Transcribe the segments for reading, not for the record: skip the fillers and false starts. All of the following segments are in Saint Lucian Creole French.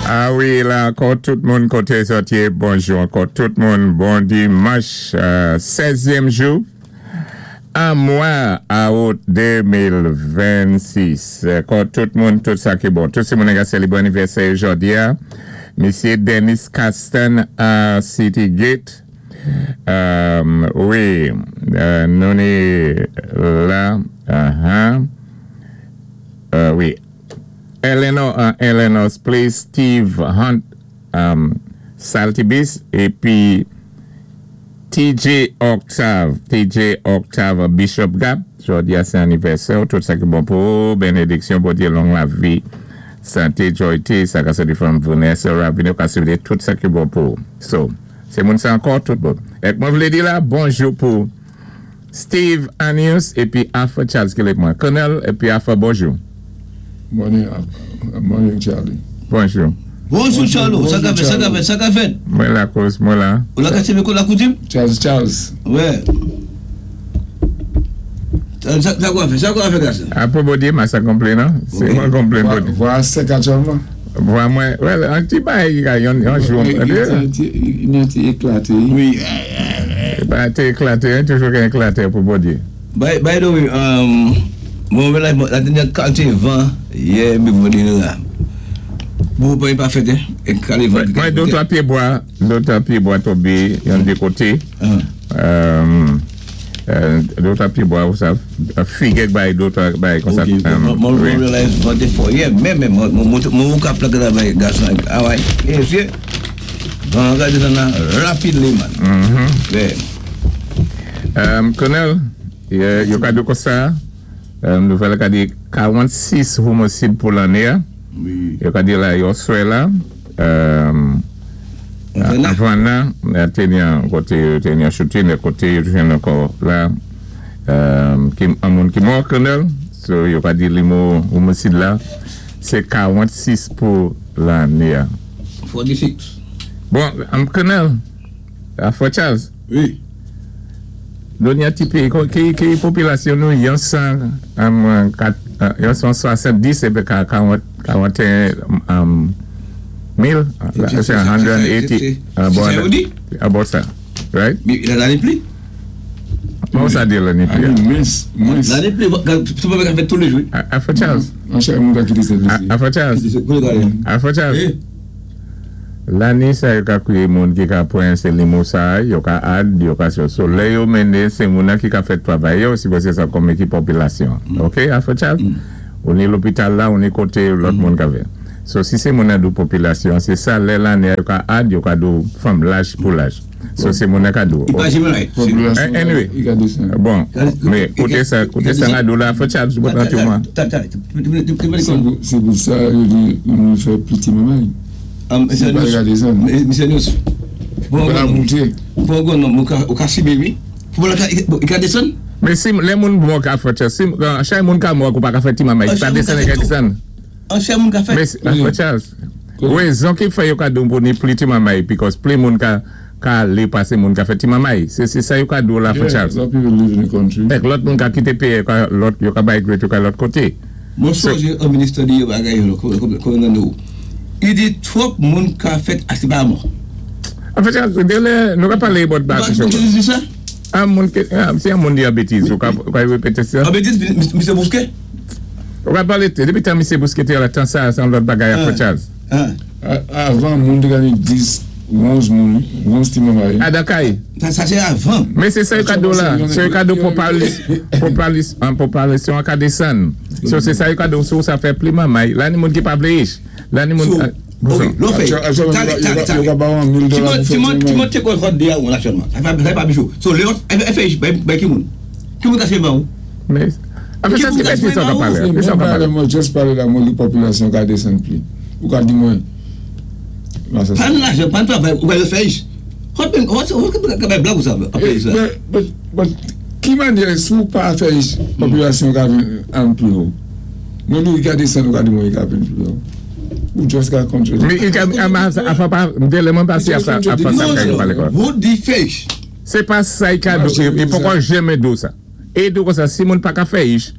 A wi, la ankò tout moun koté zòt yé, bonjou ankò tout moun, bon dimanch 16zièm jou an mwa aout 2026. Ankò tout moun, tout sa ki bon. Tout si moun ka sélébwé anivèsè jòdi a, Misyé Dennis Castan a City Gate, wi, nou ni la, wi. Eleanor an Eleanor's Place, Steve Hunt Saltibus épi TJ Octave, TJ Octave an Bishop Gap, jòdi a sé anivèsè w, tout sa ki bon pou ou, benediksyon Bondyé, long lavi, santé, joyté, sa ka sòti from Vanessa Raveneau ka swété tout sa ki bon pou ou. So, sé moun sa ankò, tout bon. Èk mwen vlé di la, bonjou pou Steve Anius epi Arthur Charles ki lèk mwen. Colonel epi Arthur bonjou. Morning morning Charlie. Bonjou. Bonjou Charlo, sa ka fèt, sa ka fèt, sa ka fèt? Mwen la kouz, mwen la. Ou la ka sèvi kou la koutim? Charles Charles. Wè. Sa kwa fè, sa kwa fè gason? A pou Bondye ma sa konplen non. Se mwen konplen Bondye. Vwa a sèk aktyèlman? Vwa mwen, well, an ti bagay ki ka yon jou. Yon ti eklate. Wi. Bagay te eklate, toujou gen eklate pou Bondye. By the way, mwen wè la te gen kante van yè mwen vin la. Bon, pa pa fèt, eh? Kale van. Mwen de twa pye bwa, de twa pye bwa tonbe yon de kote. De twa pye bwa ou sa, fig ek bay de twa bay konsa. Ok, mwen realize van te fò yè, men men, mwen wou ka plak la bay gason, away, e fye. Van an ka desann la rapidly man. Colonel, yo ka di konsa, nouvèl la ka di 46 homosid pou lanne a. Yo ka di la yon swè la, Havana, te gen kote yo te gen shooting, kote yo jwenn ankò la, an moun ki mò, Colonel. So yo ka di limo homosid la, se 46 pou lanne a. 46. Bon, m konnen l. Afro Charles. Wi. Nou gen ti peyi, ki popilasyon nou yon 170 epi 41 mil, se 180, about sa, right? Lane pli. Bon sa di lane pli a? Mwens, mwens. Lane pli, sou pa fèt tou le jou. Afro Charles. Afro Charles. Afro Charles. Lane sa yo ka kwiye moun ki ka pran se limo sa yo ka add yo ka so lè yo mennen se moun nan ki ka fè travay yo sipoze sa konbyen ki popilasyon ok Afro Charles ou ni lopital la ou ni kote lòt moun ka fè so si se moun nan di w popilasyon se sa lè lane a yo ka add yo ka di w fanm laj pou laj. So se moun nan ka di w. Anyway, bon, men kote sa, kote sa na di w la, fò Charles bon nan tou man. Se pou sa yo di nou fè piti manman. Se pa gade sa. Misye News. Bon la moute. Bon bon non, ou ka sibi wi. Pou la ka desann? Men si lè moun mò ka fè Charles, si chay moun ka mò ou pa ka fè ti manman, li pa desann, li ka desann. Ansyen moun ka fèt. Mesi Pastor Charles. Rezon ki fè yo ka di w pou ni pli ti mamay because pli moun ka ka ale pase moun ka fè ti mamay. Se se sa yo ka di w la Frè Charles. Ek lòt moun ka kite peyi yo ka lòt yo ka migrate yo ka lòt kote. Mwen sonje on minister di yon bagay yon lò nan nou. Li di twòp moun ka fèt a se pa mò. Frè Charles, gen lè nou ka pale about Ou pa konn di sa? An moun ke si an moun di an betiz ou ka repete sa? An betiz Misye Bousquet? Ou pa pale depi tan misye Bousquet te la tan sa se yon lòt bagay apre Charles. Avan moun te ka gen 10, 11 moun, 11 ti moun marye. A dan kay. Sa se avan. Men se sa yo ka di w la, se yo ka di w popalisyon an ka desann. So se sa yo ka di w sou sa fè pli manmay. La ni moun ki pa vle rich. La ni moun. Ok, lò fè. Tale, tale, tale. Yo ka ba w an 1000 dola pou fè ti manmay. Ti moun te konn hot de a ou nasyonman. Sa pa bijou. So lè yo fè rich bay ki moun? Ki moun ka se ba ou? Men, apre sa, ki sa w ka pale? Se menm bagay mwen just pale la, mwen di popilasyon ka desann pli. Ou ka di mwen, Pa nan lajan, pa nan travay, ou ka fè ish. Hot men, hot, hot ka bay blag ou sa, ap peye sa. But, but, ki manyè si ou pa fè ish, popilasyon ka vin an pli wo? Mwen di ou ka desann, ou ka di mwen ka vin pli wo. Ou just ka kontredi. Men, i ka, a, a, a, m gen lè mwen pase a sa, a sa ka yo pale kwa. Non, ou di fè ish. Se pa sa i ka di, e poko jeme di w sa. E di w konsa, si moun pa ka fè ich,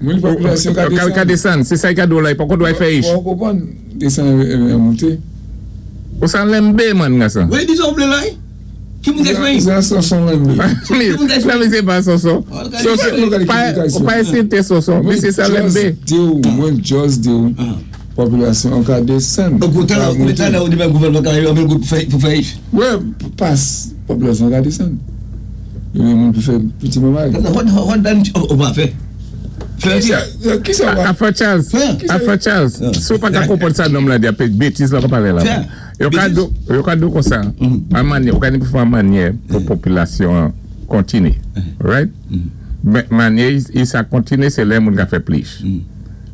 Moun popilasyon ka desann. Ka desann, se sa i ka di w la, i poko dwa fè ich. Ou konprann, desann e moute. Ou sa lenbé man gason. Wi, di sa ou vlé la. Ki moun ka explain? Sa Sonson lenbé. Nan misye pa Sonson. Ou pa ensilte Sonson. Misye sa lenbé. Mwen just di ou popilasyon an ka desann. Ou talè ou di men gouvènman ka anpil goud pou fè ich. Wè pas popilasyon an ka desann. Yo gen moun pou fè piti mamay. Hot dan ou pa fè. Kisa wap. Afè Charles, afè Charles, si w pa ka konprann sa nonm lan di a pe betiz la wap pale la. Yo ka di w, yo ka di w konsa, an manyè, ou ka di pou fè an manyè pou popilasyon an kontine. Right? Men manyè i sa kontine se lè moun ka fè plis.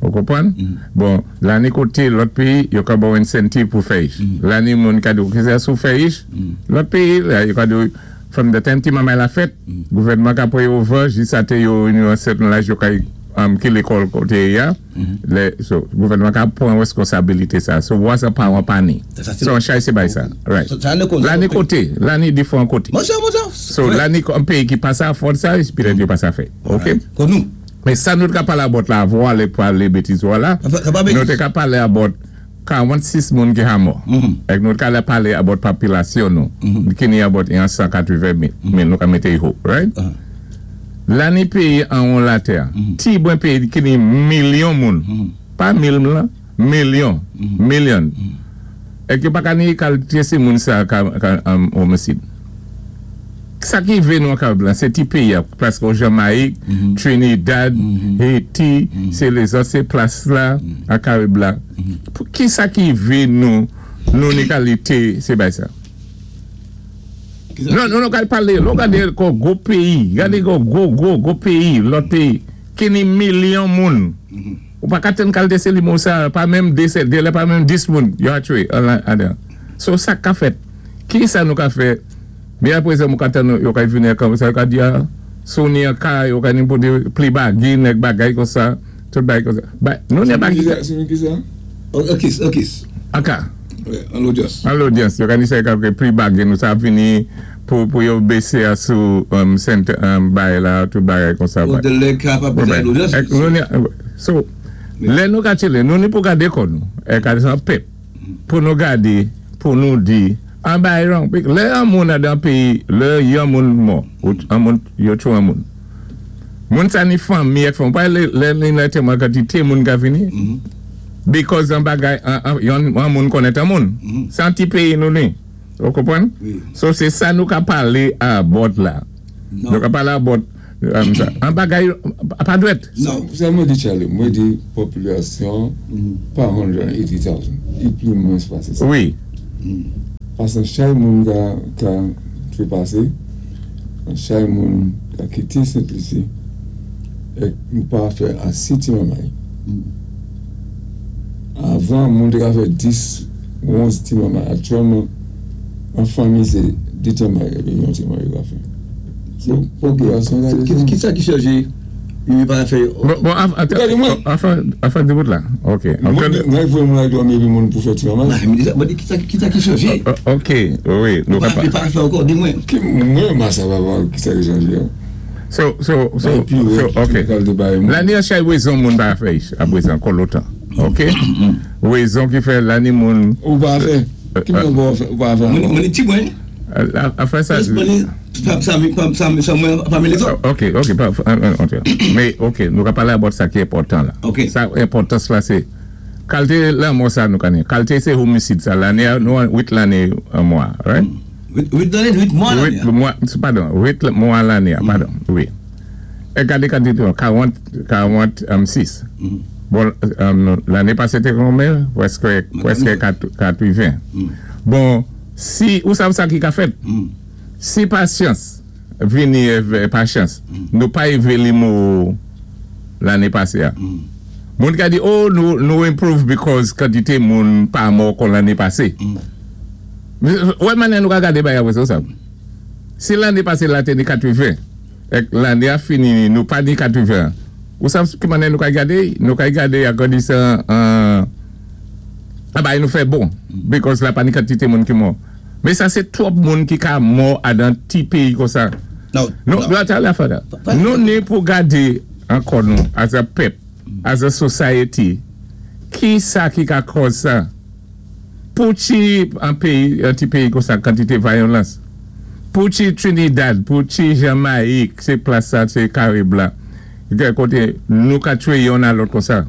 Ou konprann? Bon, lane kote lòt peyi, yo ka ba w incentive pou fè ich. Lane moun ka di w kisa si w fè ich, lòt peyi la yo ka di w from the time ti mamay la fèt, gouvènman ka pran yo van jis ate yo rive yon sèten laj yo ka ki lekòl kote ye a. Lè so gouvènman ka pran reskonsabilite sa. So wa sa paran pa ni. So an chay se bay sa. Right. La ni kote, la ni diferan kote. So la ni an peyi ki pa sa afford sa, petèt yo pa sa fè. Ok. Men sa nou te ka pale about la avan w ale pale betiz ou a la, nou te ka pale about 46 moun ki ha mò. Èk nou te ka pale about popilasyon nou ki ni about yon 180 mil nou ka mete ho, right? La ni peyi anwo latè, ti bwen peyi ki ni milyon moun, pa mil lan, milyon, million. Èk yo pa ka ni kalite se moun sa ka omisid. Sa ki rive nou an Karib la, se ti peyi a, plas kon Jamayik, Trinidad, Haiti, se lezòt se plas la an Karib la. Ki sa ki rive nou, nou ni kalite se bay sa? Non, nou ka pale, lè w gade kon gwo peyi, gade kon gwo, gwo, gwo peyi, lòt peyi, ki ni milyon moun, ou pa ka tann kalte se li moun sa, pa menm 2, 2 lè pa menm 10 moun, yo a tchwe, an la, so sa k ka fèt? Ki sa nou ka fè? Men apresa mou ka tann yo kay vini ak sa yo ka di a si w ni an kay yo ka ni pote pli bagin ak bagay konsa tout bagay konsa ba nou ni bagay Si nou kisa? An kis an kis. An ka. An lodyans. An lodyans yo ka ni sa yo ka pli bagin ou sa ap vini pou pou yo bese a sou sent bay la tout bagay konsa. Ou de lè ka pa peze an lodyans. Ek nou ni so lè nou ka tchele nou ni pou gade kò nou ek a san pèp. Pou nou gade pou nou di an bay wrong lè yon moun andan peyi lè yon moun mò an moun yo tchwe an moun moun sa ni fanmi ak fanmi pa lè li nan antèman kantite moun ka vini because an bagay yon an moun konnen an moun se an ti peyi nou ni ou konprann so se sa nou ka pale about la nou ka pale about An bagay pa dwèt. Sa mwen di Charly, mwen di popilasyon pa 180,000, li pli mwens pase sa. Wi. Pase chay moun ka trepase, chay moun ka kite Sent Lisi, ek nou pa fè ase ti mamay. Avan moun te ka fè 10, 11 ti mamay, aktyèlman an fanmi se 2 ti mamay oubyen yon ti mamay yo ka fè. Ki sa ki chanje yo pa fè yo. Bon afè di bout la ok. Mwen voye moun al dòmi epi moun pou fè ti mamay. Mwen di ki sa ki chanje. Ok wi. Nou pa fè ankò di mwen. Mwen ma sa pa ki sa ki chanje. So so so ok. Lani an chay rezon moun pa fè ich aprezan kò lotan ok. Rezon ki fè lani moun. Ou pa fè. Ki moun ou pa fè ankò. Mwen di ti mwen. Afè sa. Ok, ok, men ok, nou ka pale about sa ki enpòtan la. Ok. Sa enpòtans la se, kalte lanmò sa nou konnen, kalte se homisid sa, lane a, nou an 8 lane an mwa, right? 8 lane, 8 mwa lane a. 8 mwa, padon, 8 mwa lane a, padon, wi. E gade kantite yo, 40, 46. Bon, lane pase te konbyen? Prèske, prèske 80. Bon, si, ou sav sa ki ka fèt? Si pasyans vini pa chans nou pa eve li mo lane pase a moun ka di oh nou improve because kantite moun pa mò kon lane pase wè manyè nou ka gade bagay apre sa ou sav si lane pase la te ni 80 ek lane a fini nou pa ni 80 ou sav ki manyè nou ka gade nou ka gade agrandisman an bagay nou fè bon because la pa ni kantite moun ki mò. Men sa se twòp moun ki ka mò adan ti peyi konsa. Nou ni pou gade ankò nou as a pèp, as a society, ki sa ki ka kòz sa? Pou ti an péyi, an ti péyi kon sa kantité vyolans. Pou ti Trinidad, pou ti Jamayik, sé plas sa, sé Karib la. Gen koté nou ka twé yonn a lòt kon sa.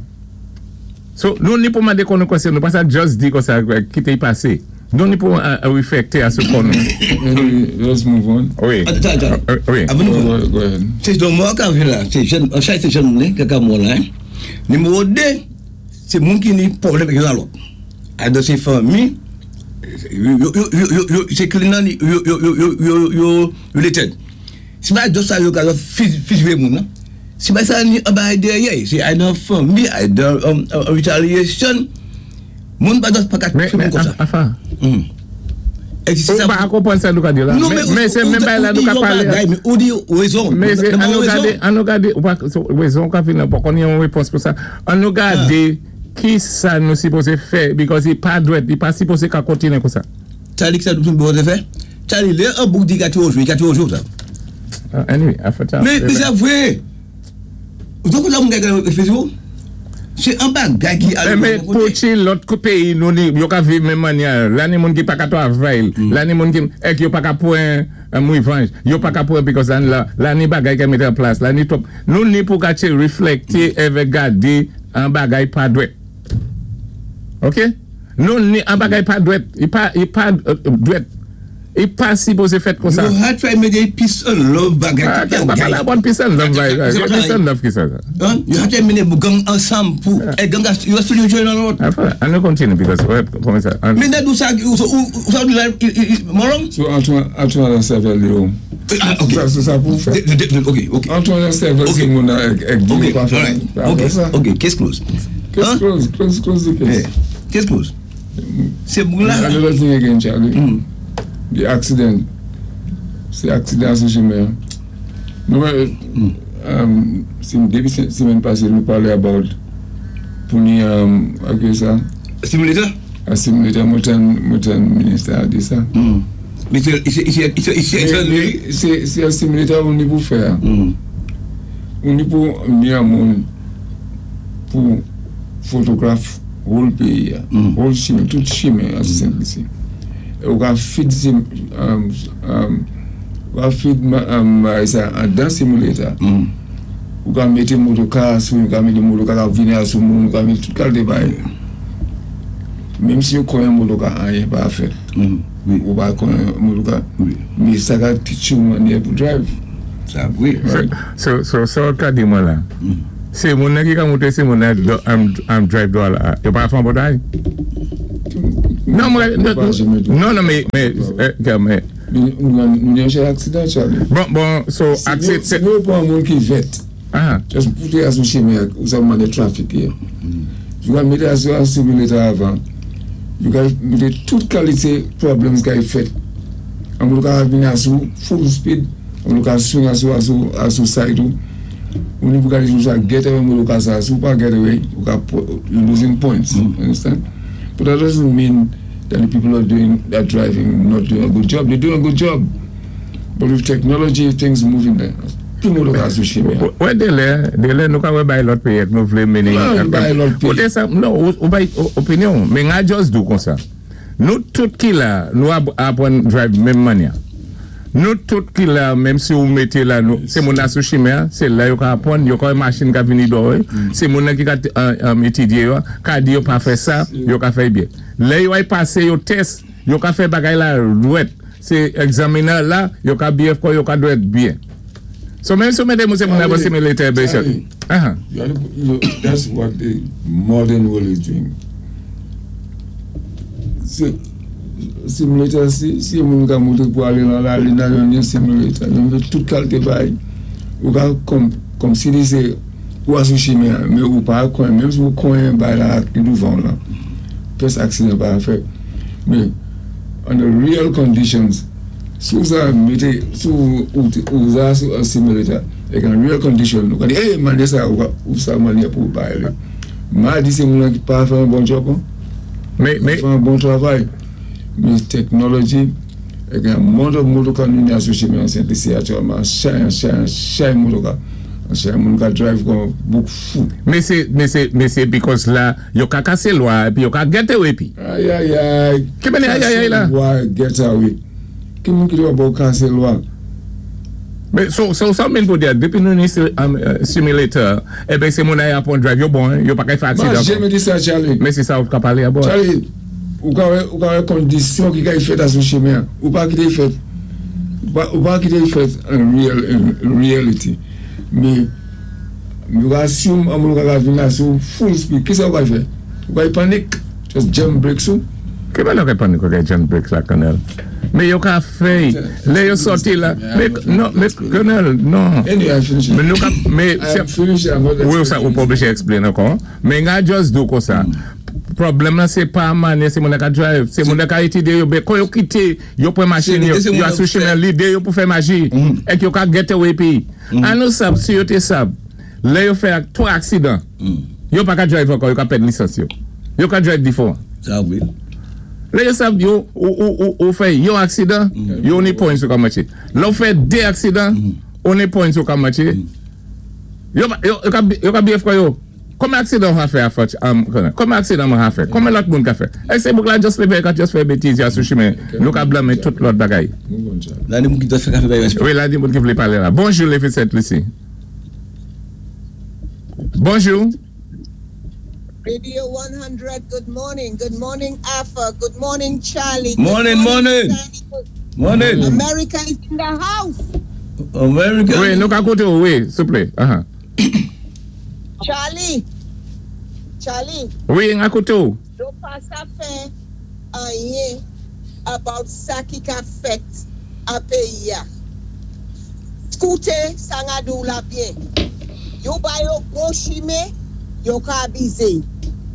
So, nou ni pou mandé kò nou kwèsyon, nou pa sa just di kon sa, kité y pasé. Nou ni pou réfléchi a sou kò nou. Anyway, let's move on. Wi. Attends, attends. Wi. Avan nou Go ahead. Sé don mò ka vin la, sé jèn, an chay sé jèn moun ki ka mò la. Hein. Niméwo 2, sé moun ki ni pwoblèm avèk youn a lòt. Either sé fanmi, yo, sé clan nan yo related. Sé pa just sa yo ka fiziyé moun nan. Sé pa sa ni an ba dèyè, sé either fanmi, either retaliation. Moun pa just pa ka Mais, twé mais, moun kon sa. Enfin, É si ou sa pa konpwann sa nou ka di la. Non, Mais sé menm bagay la ou nou di ka yon palé. Bagay, mais ou di wézon. Mais sé, Nan an nou wézon. gadé, an nou gadé, ou pa, so, wézon ka vin nan, pa konn yon wépons pou sa. An nou gadé ki sa nou sipozé fè, because i pa dwèt, i pa sipozé ka kontiné kon sa. Charlie, ki sa nou bezwen fè? Charlie, lè an bouk di ka twé jou, i ka twé jou sa. Anyway, afè sa. Mais c'est vrai. Donk la moun ka fè yo? Sé an bagay ki Eh, mais pou ti lòt kou péyi nou ni, yo ka viv menm mannyè, la ni moun ki pa ka twavay, la ni moun ki, ek yo pa ka pwan an revanj, yo pa ka pwan because an la, la ni bagay ka mété an plas, la ni top. Nou ni pou ka ti réflèkté èvè gadé an bagay pa dwèt. Ok? Nou ni an bagay pa dwèt, i pa dwèt. I pa sipozé fèt kon sa. You had try mété peace and love bagay. Ah, tout pa bagay. palé about peace and love, C'est bagay. pas Peace and love ki sa sa. Hein? You had to méné gang ansanm pou é gang yo studio joué nan lòt. Enfin, an nou kontiné because, ouais, kòman sa? Mais nan d'où ça ou ça di la moron? So Antoine an sèvèl yo. Ah, ok. Sa, sé sa pou fè. Ok. Antoine an sèvèl sé moun nan ek di yo pa fè Alright. Pa Ok, fè sa. Ok, case closed. Case Hein? closed, close the case. Yeah. Case closed. Sé moun la. Another thing again, Charlie. The accident. Sé aksidan sou chimen. Nou, dépi sémèn pasé, nou palé about pou ni, ok sa, Simulator? A simulator, mwen minister a di sa. Mais c'est Mais sé an simulator ou ni pou fè. Ou ni pou ni an moun pou photograph whole péyi, whole chimen, tout chimen a Sent Lisi. Ou ka feed sim, ou ka feed sa an dan simulator. Ou ka mété motoka sou, ou ka mété motoka ka vini a sou moun, ou ka mété tout kalité bagay. Menm si yo konyen motoka, anyen pa fèt. Ou pa konyen motoka, mais sa ka teach you mannyè pou drive. Sa, wi. So, ka di mwen la. Sé moun nan ki ka monté, sé moun nan am drive do la. Yo pa fè an botay? Non, mwen, non, mais, Nou gen chè aksidan, Charlie. Bon, so, aksit, Si nou pran moun ki vèt, just poute a sou chimen, ou sa mande traffic ye. You ka mété a sou an simulator avan. You ka mété tout kalité problems ka y fèt. An moun ka vini a sou full speed, an moun ka swing a sou side ou. Ou ni pou ka di sou sa get away moun ka sa, sou pa get away, ou ka you losing points. Understand? But that doesn't mean that the people are doing that driving not doing a good job. They're doing a good job. But with technology, things moving there. Tout moun ka sou chimen. Wè, delè nou ka wè bay lòt péyi, nou vlé méné. Non, bay lòt péyi. Koté sa, non, ou bay opinyon, men nga just dou kon sa. Nou tout ki la, nou apwann drive menm mannyè. Nou tout ki la, menm si ou mété la, nou, sé moun nan sou chimen, sé la yo ka apwann, yo ka wè machin ka vini do, sé moun nan ki ka étudié yo, ka di yo pa fè sa, yo ka fè byen. Lè yo ay pasé yo test, yo ka fè bagay la dwèt. Sé examiner la, yo ka byen kwa, yo ka dwèt byen. So menm si ou mété moun sé moun nan simulator be Charlie, that's what the modern world is doing. Simulator, si moun ka monté pou alé nan la, li nan yon simulator, yon fè tout kalité bagay. Ou ka kòm si li sé ou a sou chimen, mais ou pa konyen, menm si ou konyen bay la ki douvan la, pès aksidan pa fèt. Mais under real conditions, si ou sa mété, si ou sa sou an simulator, ek an real condition, ou ka di, hey, mande sa, ou sa mande pou bay li. Ma di sé moun nan ki pa fè an bon job, an? Mais Fè an bon travay. Mais technology, ek an moto ka nou ni a sou chimen an Sent Lisi aktyèlman, chay, chay, chay motoka. Monchè, moun ka drive kon bouk fou. Men sé, men sé, men sé because la, yo ka kasé lwa épi yo ka get away épi. Ayayay! Ki mène ayayay la? Kasé lwa, get away. Ki moun ki dwa ba ou kasé lwa? Men, so, so sa ou mean pou di a, dépi nou ni simulator, eben sé moun ay apwann drive, yo bon, yo pa kay fè Ma aksidan ankò. janmen di sa, Charlie. Men sé sa ou ka palé about. Charlie, ou ka wè, ou ka wè kondisyon ki kay fèt asou chimen an. Ou pa kité fèt, ou pa kité fèt an real, in reality. Men, nou ka assume an moun ka ka vin asou full speed. Ki sa ou kay fè? Ou kay panik? Just jam brakes ou? Ki mène yo kay panik ou kay jam brakes la, Colonel? Men yo ka fè, lè yo sòti la, men, non, men, Colonel, non. Anyway, I finish it. Men nou ka, men, I am finished. I'm not Wi, sa, ou pa oblijé explain ankò. Men nga just di ou konsa. Pwoblèm la sé pa mannyè sé moun ka drive, sé moun ka étudyé yo, ben kon yo kité, yo pran machin yo, Sé- sé moun yo asou fè- chimen lidé yo pou fè maji, èk yo ka get away pi. An nou sab, si yo té sab, lè yo fè ak 3 aksidan, yo pa ka drive ankò, yo ka pèd lisans yo. Yo ka drive different. Sa wi. Lè yo sab yo, ou fè yon aksidan, yo ni points yo ka maché. Lè ou fè 2 aksidan, ou ni points yo ka maché. Yo ka behave kwa yo. Konbyen aksidan ou ka fè a fòt, konbyen aksidan mwen ka fè? Konbyen lòt moun ka fè? É sé bouk la just lévé ka just fè bétiz ya sou chimen. Nou ka blanmé tout lòt bagay. Move on, Charlie. La ni moun ki dwa fè kafé bay respè. Wi, la ni moun ki vlé palé la. Bonjou, Lévi Saint Lucie. Bonjou. Radio 100, good morning. Good morning, Alpha. Good morning, Charlie. Good Morning, morning. Sandy. Morning. America is in the house. America. Wi, nou ka kouté ou, wi, souplé. Aha. Charlie. Charlie, Wi, nga kouté ou. yo pa sa fè anyen about sa ki ka fèt a péyi a. Kouté sa nga di ou la byen. Yo ba yo bon chimen, yo ka abizé.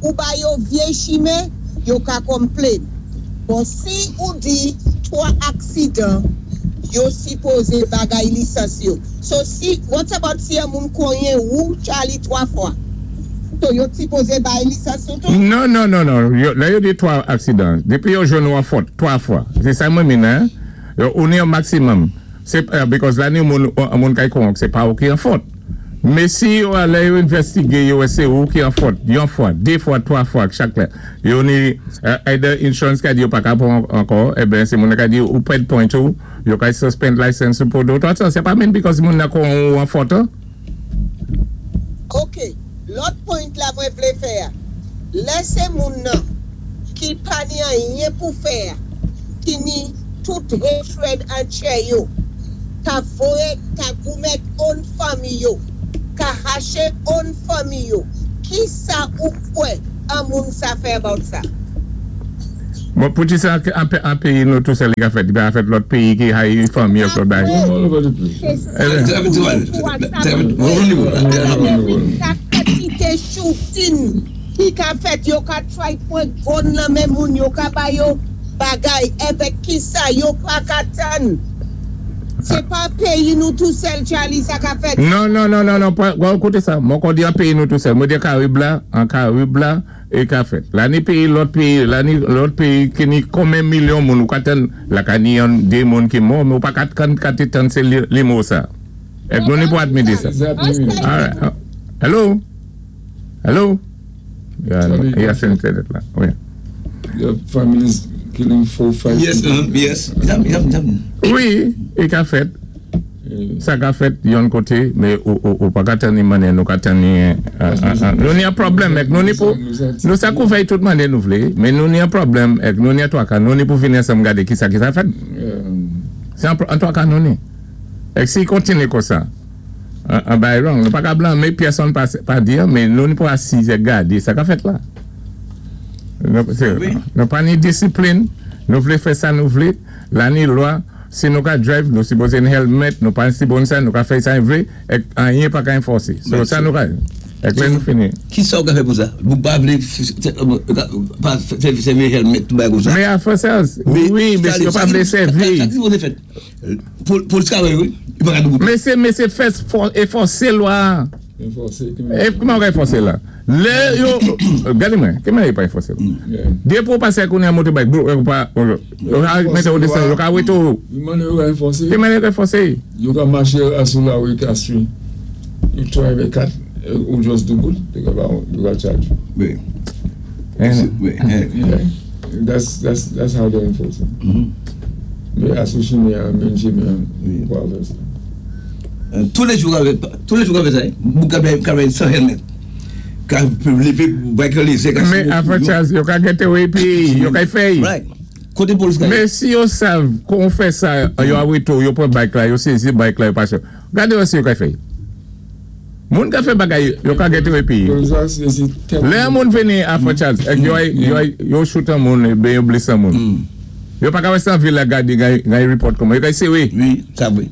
Ou ba yo vyé chimen, yo ka complain. Bon, si ou di 3 aksidan, yo sipozé bagay lisans yo. So si, what about si yon moun konyen ou Charlie 3 fwa? So yo sipozé bay lisans yo tou? Non, non, non, non. Yo, la yo di 3 aksidan. Dépi yo jwenn ou an fòt, 3 fwa. Sé sa mwen mean, hein? Yo, ou ni yon maximum. Sé, because la ni moun, moun kay kon, sé pa ou ki an fòt. Men si yo alé yo investigé, yo wè sé ou ki an fòt, yon fwa, 2 fwa, 3 fwa, chak lè. Yo ni, either insurance ka di yo pa ka pran ankò, eben sé moun ka di ou pèd point ou, yo ka suspend license ou pou 2 ou 3 tan. Sé pa mean because moun nan kon ou an fòt, hein? Ok, lòt point la mwen vlé fè a. Lè sé moun nan ki pa ni anyen pou fè, ki ni tout hatred antjè yo, ka voyé, ka goumen own fanmi yo, ka haché own fanmi yo, ki sa ou kwè an moun sa fè about sa? Bon, pou di sa, an péyi nou tou sèl li ka fèt, li pa fèt lòt péyi ki hayi fanmi yo lòt bagay. All over the place. Eh Sa kantité shooting ki ka fèt, yo ka try pwan gun nan men moun, yo ka ba yo bagay, evèk ki sa, yo pa ka tann. Sé pa péyi nou tou sèl, Charlie, sa ka fèt. Non, non, non, non, non, pa, kouté sa, mwen kon di an péyi nou tou sèl, mwen di Karib la, an Karib la, é ka fèt. La ni péyi lòt péyi, la ni lòt péyi ki ni konbyen milyon moun, ou ka tann, la ka ni yon, 2 moun ki mò, men ou pa ka kan ka té tann sé li mò sa. Èk nou ni pou admit sa. Exactly. All right. Oh. Hello? Hello? Yeah, Charlie, yeah, c'est internet la. Wi. Your families killing 4, 5 Yes, people. yes. Yap. Wi, é ka fèt. Sa ka fèt yon koté, men ou pa ka tann ni mannyè, nou ka tann ni, nou ni an pwoblèm èk nou ni pou, nou sa kouvèy tout mannyè nou vlé, men nou ni an pwoblèm èk nou ni an 3 ka, nou ni pou vini ansanm gadé ki sa ki sa fèt. Sé an 3 ka nou ni. Èk si kontiné konsa, an bay wrong, nou pa ka blanmé pèsonn pa di, men nou ni pou asiz èk gadé sa ka fèt la. Nou pa ni disiplin, nou vlé fè sa nou vlé, la ni lwa, si nou ka drive, nou sipozé ni helmet, nou pa si bon sa, nou ka fè sa nou vlé, èk anyen pa ka enfòsé. So sa nou ka, èk lè nou fini. Ki sa ou ka fè pou sa? Bouk pa vlé pa fè sèvi helmet tout bagay kon sa. Men a fè sa, wi, men si yo pa vlé sèvi. Sa ki sipozé fèt? Polis ka wè, wi, yo pa ka dou. Men sé fè enfòsé lwa. Enfòsé, ki É kouman ou ka enfòsé la? Lè yo, gadé mwen, ki mwen yo pa enfòsé la? Dépi ou pasé kounye a motorbike, bro, yo pa, yo ka mété ou desann, yo ka wété ou. Ki mwen yo ka enfòsé? Ki mwen yo ka enfòsé? Yo ka maché asou la wi ka swi. You drive a cat who just do good, they go charge you. Wi. Wi. Yeah. That's how they enforce it. Mé asou chimen-an, main chimen-an, ou pa fè sa. Tou lé jou ka fè sa, moun ka ride san helmet. Ka lévé bike lézé. Mé afè Charles, yo ka get away pi, yo ka fè. Right. Koté polis ka. Mé si yo sav kon fè sa, yo awéto, yo pran bike la, yo sézi bike la, yo pasé. Gadé wè si yo ka fè. Moun ka fè bagay, yo ka get away pi. Polis la, si Lè an moun vini afè Charles, ek yo, yo, yo shoot an moun, ben yo bless an moun. Yo pa ka wè san vil la gade, gay report koman. Yo ka say wi. Wi, sa vwé.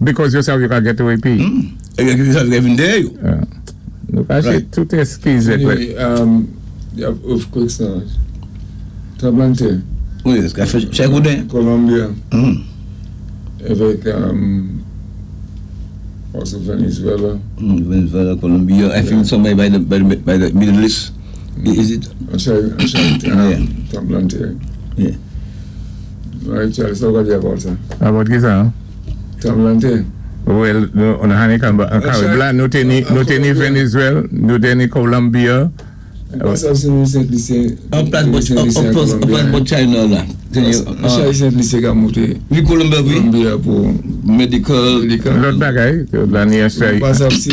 Because yo sav yo ka get away pi. É yo sav yo vin déyè yo. Nou ka sé tout eskiz. Anyway, you have earthquakes now. Tranblanntè. Wi, ka fè chak gouden. Colombia. Avèk also Venezuela. Venezuela, Colombia, I think somewhere by the Middle East. Is it? I'm sorry, tranblanntè. Yeah. Right, Charles, so what about that? About ki sa? Tranblanntè. Well, nou, on hani kan ba, kan bla, nou té ni Venezuela, nou té ni Colombia. Pas sa sé nou Sent Lisi. An plas bò China la. An Sent Lisi ka monté. Wi, Colombia, wi. Colombia pou Medical. Medical. Lòt bagay, la ni asè, Pas sa si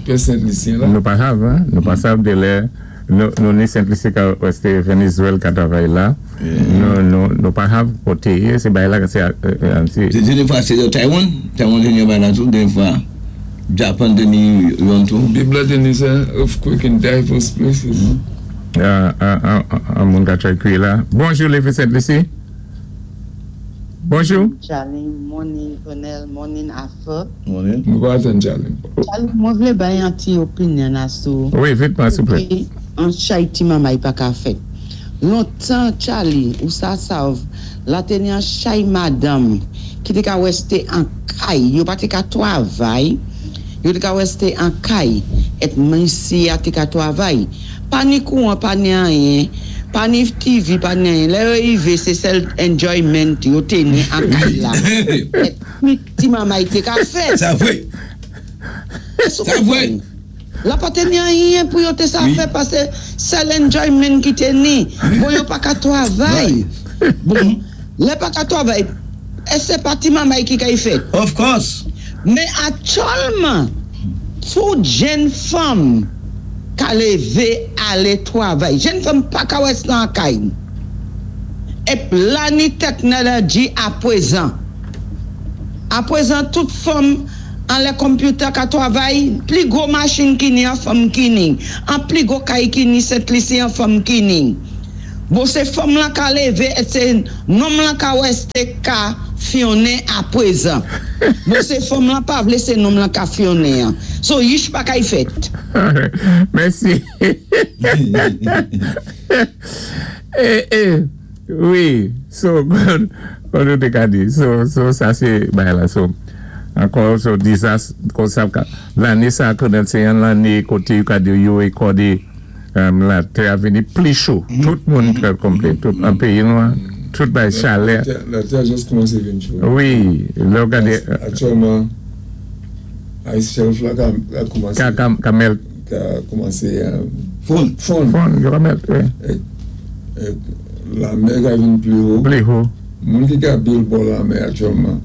pè Sent Lisi la. Nou pa sav, hein? Nou pa sav de lè, nou ni Sent Lisi ka wèsté Venezuela ka travay la. Nou pa sav koté, sé bay la ka sé, an si. Dényé fwa sé Taiwan, Taiwan té ni yon bay la tou, dényé fwa Japan té ni yon tou. Bib la té ni sa, earthquake in diverse places. An moun ka try kwi la. Bonjou, Lévé Sent Lisi. Bonjou. Charlie, morning Colonel, morning Arthur. Morning. Nou pa atan Charlie. Charlie, mwen vlé bay an ti opinyon asou. Wi, vitman, souplé. An chay ti mamay pa ka fèt. Lontan, Charlie, ou sa sav, la té ni an chay madanm ki té ka wèsté an kay, yo pa té ka twavay, yo té ka wèsté an kay, et misi a té ka twavay. Pa ni kouwan, pa ni anyen, pa ni TV, pa ni anyen. Lè yo yivé, sé sèl enjoyment yo té ni an kay la. Et mi ti mamay té ka fèt. Sa vwé. Sa vwé. La pa té ni anyen pou yo té sa fè pasé sèl enjoyment ki té ni. Bon, yo pa ka twavay. Bon, lè pa ka twavay, é sé pa ti mamay ki kay fèt? Of course. Mé aktyèlman, tout jenn fanm ka lévé alé twavay. Jenn fanm pa ka wès nan kay. Ép la ni teknoloji a pwézan. A pwézan tout fanm an lè computer ka twavay, pli gwo machin ki ni an fanm ki ni, an pli gwo kay ki ni Sent Lisi an fanm ki ni. Bon, sé fanm lan ka lévé, et sé nonm lan ka wèsté ka fyonnen a pwézan. Bon, sé fanm lan pa vlé sé nonm lan ka fyonnen an. So, yich pa kay fèt. Mèsi. Wi, so, kon nou té ka di, so, sa sé, bay la, so, ankò, so, dizas, kon sa, lanné sa, konnen sé yon lanné koté yo ka di yo rekòdé la tè a vini pli cho. Tout moun trè konplè, tout an péyi nou, tout bay chalè. La tè just koumansé vin cho. Wi, lè ou gadé, Aktyèlman, ice shelf la ka koumansé. Ka melt. Ka koumansé Fonn. Fonn. Fonn, yo ka melt, wi. É lanmè ka vin pli wo. Pli wo. Moun ki ka build bò lanmè aktyèlman,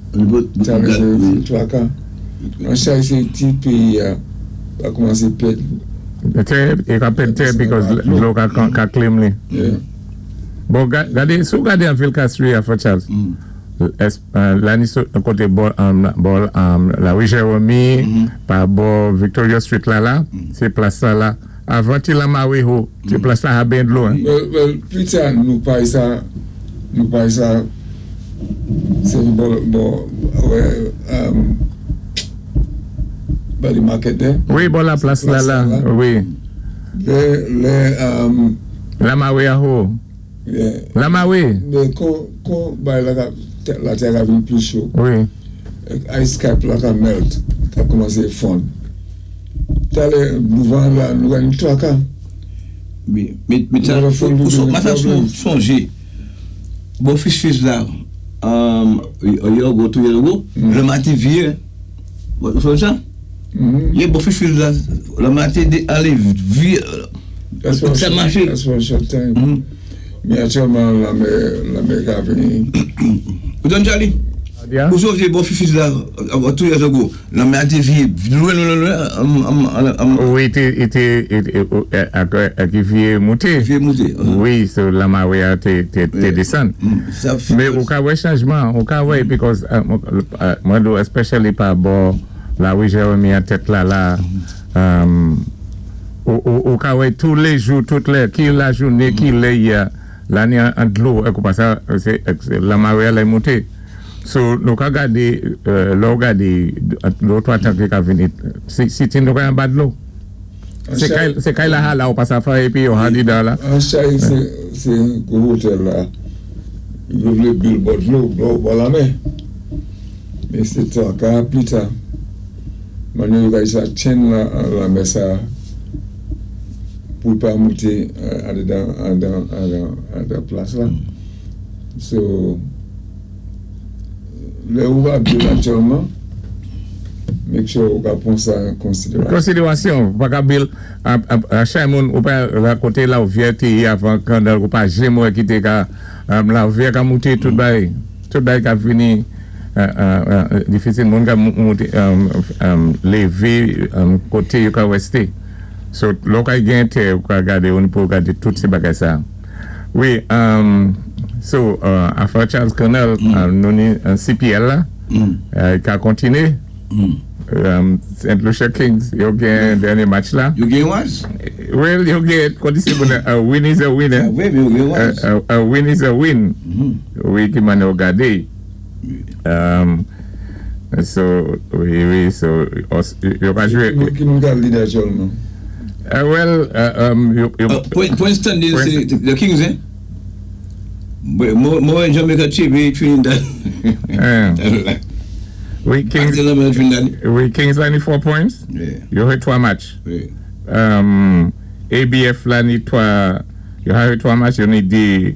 sa vlé sé twaka. An chay sé ti péyi a ka koumansé pèd. Tè, e ka pèd tè because dlo ka claim li. Yeah. Bon, gadé, sou gadé an vil Castries a Fort Charles, es, la ni sou koté bò la rue Jérémie, pa bò Victoria Street la la, sé plas la la. Avan ti la mawe ho, ti plas la a ben dlo, hein. Well, pli ta nou pay sa, nou pay sa, sé bò, wè, by the market there. Wi, bò la plas la la, wi. Lè, La mawe a ho. Yeah. La mawe. Mé kon bay la ka, la tè ka vin pli cho. Ice cap la ka melt, ka koumansé fonn. Talè, douvan la, nou gen twaka. Wi, mé sa, Nou fon ou nou ma sa problem. Sonjé. Bon, fis la, a year ago, 2 years ago, le matin vieux. Bon, ou sonjé sa? Yé bò fish field la, lanmè té alé vi, sa maché. That's for a short time. Mais actuellement, lanmè ka vini. Ou tann, Charlie? Yeah? Ou sonjé bò fish field la, 2 years ago, lanmè té vi lwen, lwen, lwen. Wi, té, ak vyé mouté. Vyé mouté. Wi, so lamawé a té désann. Mais ou ka wè chanjman, ou ka wè, because, mwen do, especially pa bò, la wi Jeremy a tèt la la, ou ka wè tou lé jou, tout lè, ki la jouné, ki lè ya, la ni an dlo, ek ou pa sa, sé lamawé a lè mouté. So, nou ka gadé, lò gadé, lò 3 tan ki ka vini, si tin nou ka yon ba dlo. Sé kay la ha la ou pa sa fa epi yo ha di dan la. An chay sé gwo hotel la, yo vlé build bò dlo, bò lanmè. Mais sé tan ka pli ta. Manyè yo ka sa chen la lanmè sa pou pa mouté an dedan plas la. So, lè ou va build actuellement, make sure ou ka pran sa an konsidérasyon. Konsidérasyon, pa ka build, a chay moun, ou pa la koté la ou vyé té avan kandal, ou pa janm wè ki té ka, la vyé ka mouté tout bay ka vini, difisil moun ka mouté, lévé, koté yo ka westé. So, lò ka gen tè, ou ka gade, ou pou gade tout sé bagay sa. Wi, so, afè Charles Colonel, nou ni CPL la, ka kontiné. St. Lucia Kings, yo gen dènyé match la. Yo gen was? Well, yo gen, kondisé moun, a win is a win, eh? Wi, yo gen was. A win is a win. Wi, ki man yo gade. So, wi, so, yo ka jwé. Ki moun ka lead actuellement? Well, yo, Point standing, c'est the Kings, eh? Mwen Jamaica TV, Trinidad. Wi, Kings, Trinidad. Wi, Kings la ni 4 points. Yo jwé 3 match. ABF la ni 3, yo jwé 3 match, yo ni 2,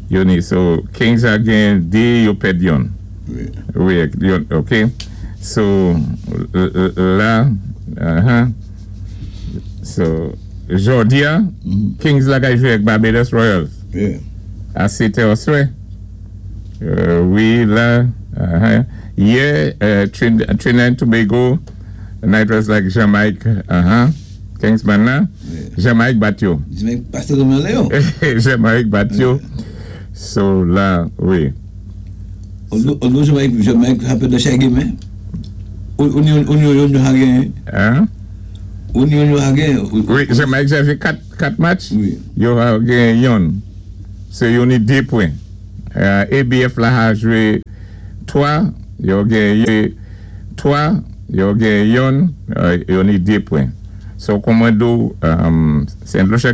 yo ni, so Kings a gen 2, yo pèd youn. Wi, ok. So, la, So, jòdi a, Kings la ka jwé ak Barbados Royals. A 7 oswè. Wi, la, Yé, Trinidad and Tobago, Knight was like Jamaica, Kingsman la, Jamaica bat yo. Jamaica pasé le yo. Jamaica bat yo. So, la, wi. Although Jamaica happen to shaggy man. Ou gen. Hein? Ou gen. Wi, Jamaica jwé 4 match. Wi. Yo gen youn. So, yo ni 2 pwen. ABF la a jwé 3, yo gen 3, yo gen youn, yo ni 2 pwen. So, kòman do, St. Lucia